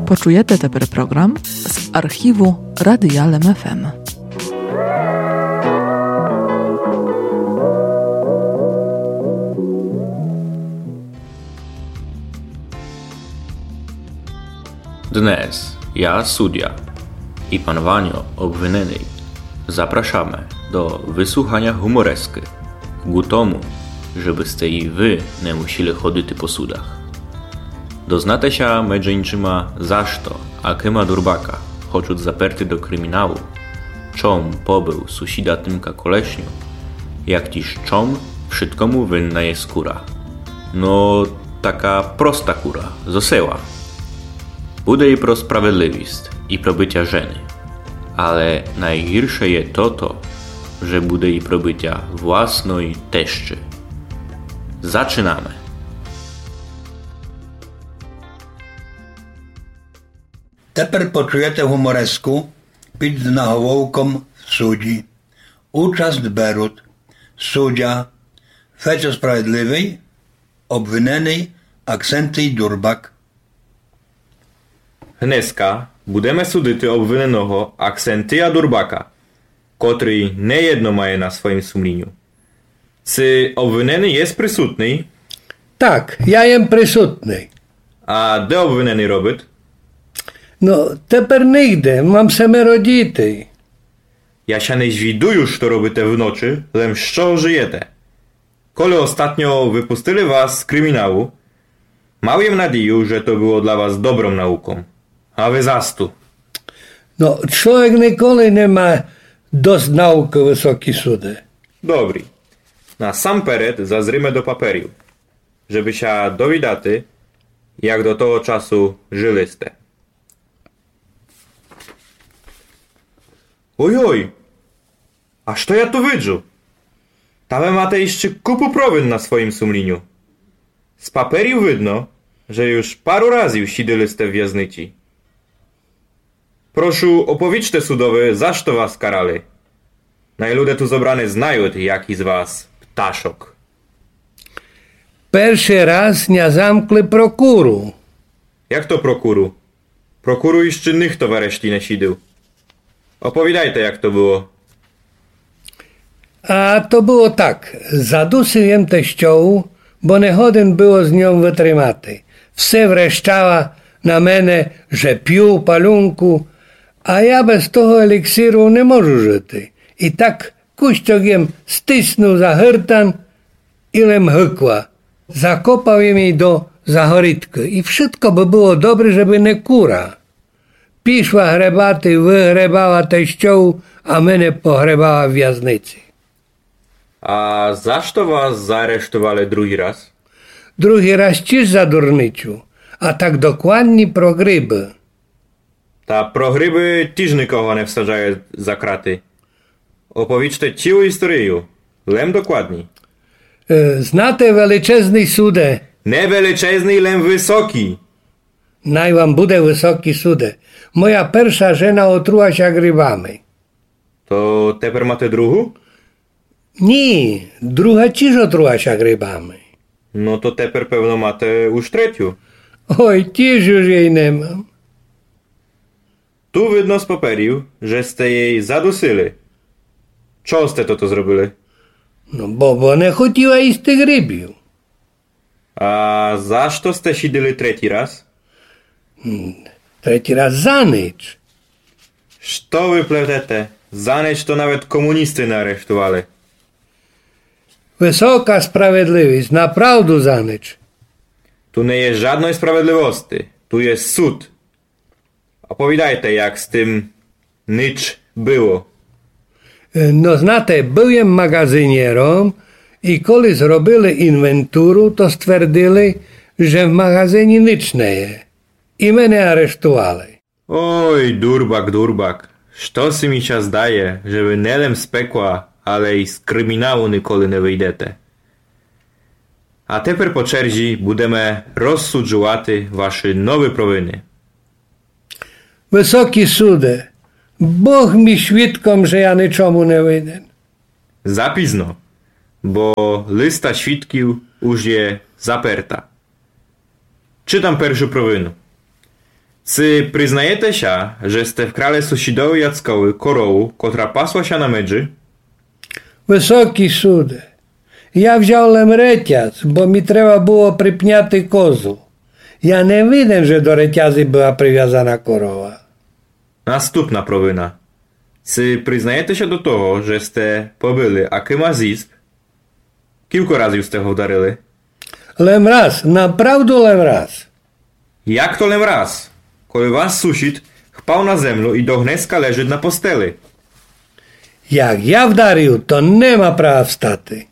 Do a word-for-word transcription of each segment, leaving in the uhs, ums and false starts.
Почуєте тепер програм з архіву Радия Лем ФМ. Dnes ja, sudja, i pan Vanjo, obvinenyj, zapraszamy do wysłuchania humoreski, ku tomu, żebyste i wy nie musieli chodzić po sudach. Doznate ся, medzy inczyma, za што, a kima durбака хочуть заперти до криміналу, чом побив сусіда Тимка Колешню, як тіж чом вшыткому винна є кура. Но, така проста кура, зо села. Буде і про справедливість, і про бытя жены. Але найгірше є тото, же буде і про бытя власной тещы. Зачинаме. Тепер почуєте гумореску під заголовком «В судї». Участь беруть судя Фецьо Справедливый, обвиненый Аксентий Дурбак. Гнеска будеме судити обвиненого Аксентия Дурбака, котрый неєдно має на своїм сумліню. Ци обвиненый єст присутный? Так, я єм присутный. А де обвиненый робит? Но, тепер нигде, мам семеро дітей. Я ся не звідую, што робите вночы, лем з чого жыєте. Коли остатньо выпустили вас з криміналу, мав єм надію, же то было для вас добром науком. А вы засту. Но, чловек николи не ма дост наукы, высокій суде. Добрі. Насамперед зазриме до паперів, жебы ся довідати, як до того часу жыли сте. Ой-ой! А што я ту виджу? Та вы мате іщы купу провин на своїм сумліню. З паперів видно, же юж пару разів сідили сте в вязниці. Прошу, оповічте судови, за што вас карали. Най люде ту зобрани знають, якій з вас пташок. Першый раз ня замкли про куру. Як то про куру? Про куру іщы нихто в арешті не сідив. Оповідайте, як то было. А то было так. Задусив єм тещову, бо не годен было з ньом вытримати. Все врещала на мене, же пю, палюнку, а я без того еліксиру не можу жыти. І так кущок єм стиснув за гыртан і лем гыкла. Закопав єм єй до загорідкы. І вшытко бы было добрі, жебы не кура. Пішла гребати, выгребала тещову, а мене погребала в вязниці. А за што вас заарештовали другій раз? Другій раз тіж за дурницю, а так докладні про грибы. Та про грибы тіж никого не всаджають за краты. Оповічте цілу історію, лем докладні. Е, знате, величезный суде. Не величезный, лем высокій. Най вам буде высокій суде. Моя перша жена отрула ся грибами. То тепер мате другу? Ні, друга тіж отрула ся грибами. Но то тепер, певно, мате уж третю. Ой, тіж уж єй не мам. Ту видно з паперів, же сте єй задусили. Чого сте тото зробили? Но, бо, бо не хотіла їсти грибів. А за што сте сідили третій раз? М, третій раз за ніч. Што вы плетете? За ніч то навет комуністы не арештовали. Высока справедливість, направду за ніч. Ту не є жадной справедливости, ту є суд. Оповідайте, як з тым ніч было. Е, но, знате, был єм маґазинєром і коли зробили інвентуру, то ствердили, же в маґазині ніч не є. І мене арештовали. Ой, дурбак, дурбак, штоси мі ся здає, же вы не лем з пекла, але й з криміналу николи не выйдете. А тепер по черзі будеме розсуджувати вашы новы провины. Высокій суде, Бог мі свідком, же я ничому не винен. За пізно, бо листа свідків уж є заперта. Читам першу провину. Ци признаєте ся, же сте вкрали сусїдови Яцкови корову, котра пасла ся на меджи? Высокій суде, я взяв лем ретяз, бо мі треба было припняти козу. Я не виден, же до ретязы была привязана корова. Наступна провина. Ци признаєте ся до того, же сте побили акима зїзд? Кілько разів сте го вдарили? Лем раз, направду лем раз. Як то лем раз? Коли ваш сусїд впав на землю и до гнеска лежыт на постели. Як я вдарив, то не ма права встати.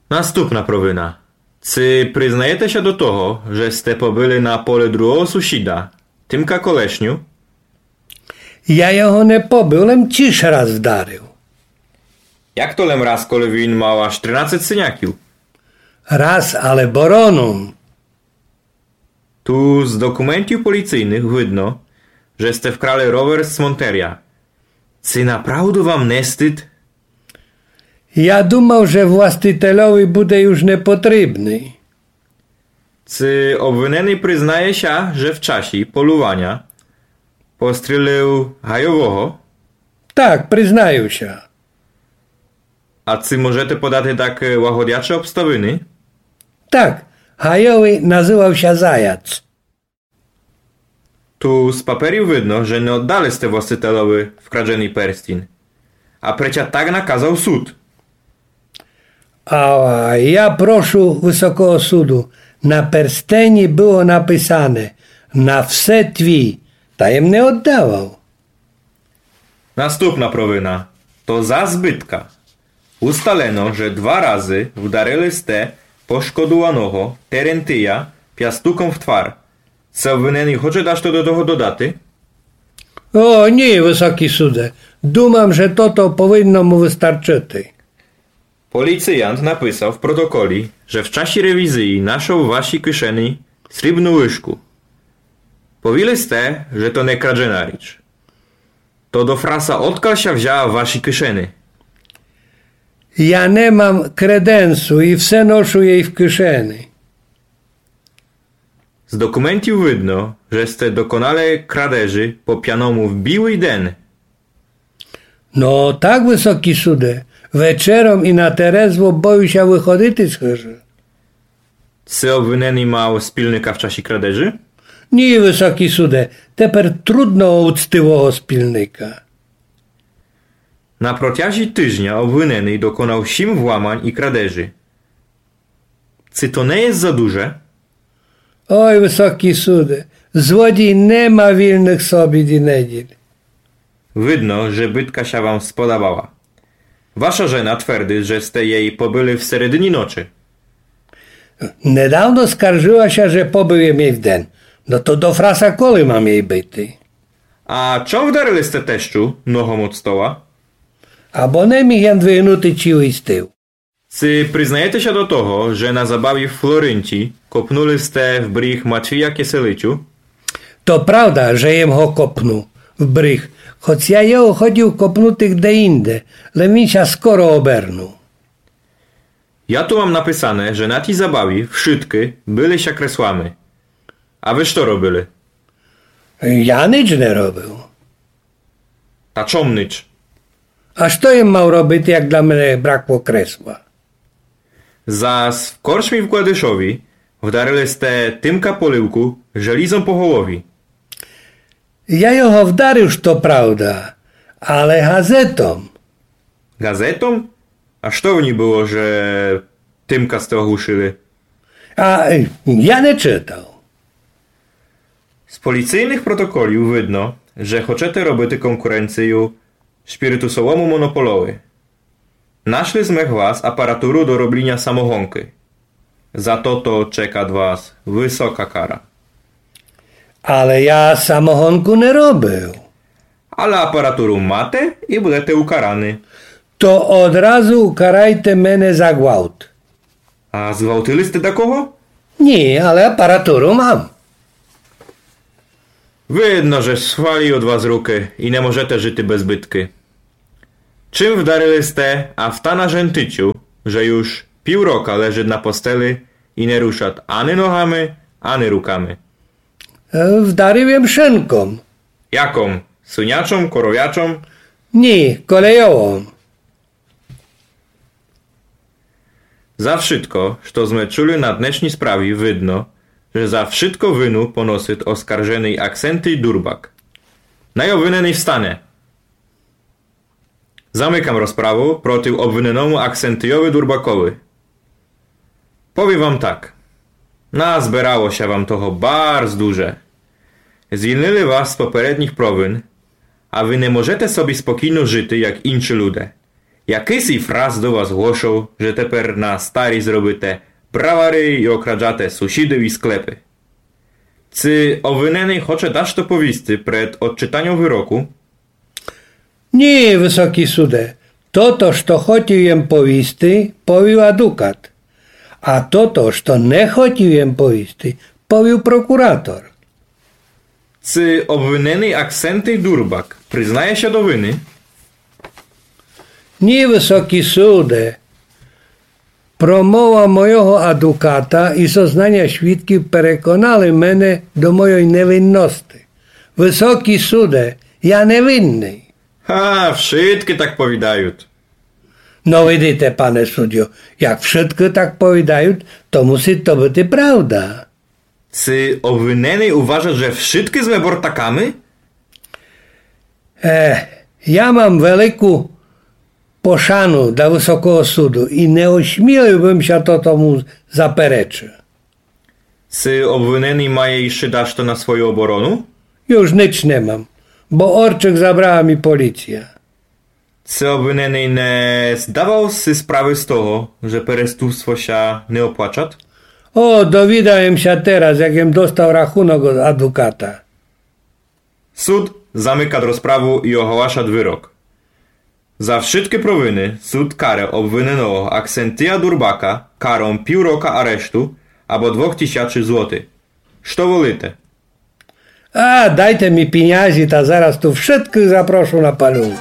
Наступна провина. Ци признаєте ся до того, же сте побили на поле другого сусїда, Тимка Колешню? Я його не побив, лем тіж раз вдарив. Як то лем раз, коли він мав аж тринадцет синяків? Раз, але бороном. Ту з документів поліцийных видно, же сте вкрали ровер з Монтеря. Ци направду вам не стыд? Я думав, же властительови буде юж непотрібный. Ци обвиненый признає ся, же в часі полюваня пострілив гайового? Так, признаю ся. А ци можете подати такы лагодячы обставины? Так, гайовый называв ся Заяц. Ту з паперів видно, же не оддали сте властителови вкраденый перстін. А преця так наказав суд. А я прошу Высокого суду, на перстені было написане: «На все твій», та єм не оддавав. Наступна провина. То зас бытка. Усталено, же два разы вдарили сте пошкодуваного Терентия пястуком в твар. Ци обвиненый хоче дашто до того додати? О, ні, Высокій суде. Думам, же тото повинно му выстарчыти. Поліціянт написав в протоколі, же в часі ревізії нашов в вашій кишені срібну лыжку. Повіли сте, же то не крадена річ. То до фраса, одкаль ся взяла в вашій кишені? Я не мам креденсу и все ношу єй в кишені. З документів видно, же сте доконали крадежі по пяному в білый ден. Но так, Высокій суде, вечером и на терезво бою ся выходити з хыжы. Ци обвиненый мав спільника в часі крадежі? Ні, Высокій суде, тепер трудно о уцтивого спільника. На протязі тыжня обвиненый доконав сім вламань и крадежі. Ци то не є за дуже? Ой, Высокій суде, злодій не ма вільных собіт и недїль. Видно, же бытка ся вам сподобала. Ваша жена твердит, же сте єй побили в середині ночи. Недавно скаржыла ся, же побив єм єй вден. Но то до фраса коли мам єй бити? А чом вдарили сте тещу ногом од стола? Або не міг єм двигнути цілый стіл. Ци признаєте ся до того, же на забаві в Флоринці копнули сте в бріг Матвія Киселицю? То правда, же єм го копнув в бріг, хоц я його хотїв копнути де інде, лем він ся скоро обернув. Я ту мам написане, же на тій забаві вшыткы били ся креслами. А вы што робили? Я нич не робив. Та чом нич? А што єм мав робити, як для мене бракло кресла? Зас в корчмі в Кладышові вдарили сте Тимка Полівку желїзом по голові. Я його вдарив, што правда, але газетом. Газетом? А што в ній было, же Тимка сте оглушили? А, е, я не читав. З поліцийных протоколів видно, же хочете робити конкуренцію шпіритусовому монополови. Нашли сме для вас апаратуру до робліня самогонкы. За тото чекат вас высока кара. Але я самогонку не робив. Але апаратуру мате и будете укараны. То одразу укарайте мене за гвалт. А зґвалтили сте дакого? Ні, але апаратуру мам. Видно, же свали од вас рукы и не можете жыти без быткы. Чим вдарили сте автана жентицю, же юж пів рока лежыт на постели и не рушат ани ногами, ани руками? Е, вдарив єм шинком. Яком? Свинячом, коровячом? Ні, колейовом. За вшытко, што зме чули на днешній справі, видно, же за вшытко вину поносит оскарженый Аксентий Дурбак. Най обвиненый встане. Замыкам розправу проти обвиненому Аксентийови Дурбакови. Повім вам так. Назберало ся вам того барз дуже. Звільнили вас з попередніх провин, а вы не можете собі спокійно жыти, як інші люде. Якысий фрас до вас глошол, же тепер на старіст робите бравары і окраджате сусідів і склепы. Ци обвиненый хоче дашто повісти пред одчитаньом выроку? Ні, высокій суде, тото, што хотів єм повісти, повів адукат. А тото, што не хотів єм повісти, повів прокуратор. Ци обвиненый Аксентий Дурбак признає ся до вины? Ні, высокій суде. Промова мойого адуката і зознаня свідків переконали мене до мойой невинности. Высокій суде, я невинный. Га, вшыткы так повідают. Но видите, пане суддю, як вшыткы так повідают, то мусит то быти правда. Ци обвиненый уважат, же вшыткы зме бортаками? Е, я мам велику пошану до Высокого суду і не осмілив бым ся то тому заперечыти. Ци обвиненый має іщы дашто на свою оборону? Юж нич не мам, бо орчык забрала мі поліція. Ци обвиненый не здавал си справы з того, же переступство ся не оплачат? О, довідав єм ся тераз, як єм достав рахунок од адуката. Суд замыкат розправу і оголашат вырок. За вшыткы провины суд каре обвиненого Аксентія Дурбака каром пів рока арешту або двох тисячы злотых. Што волите? А, дайте мі пінязі, та зараз ту вшыткых запрошу на палюнку.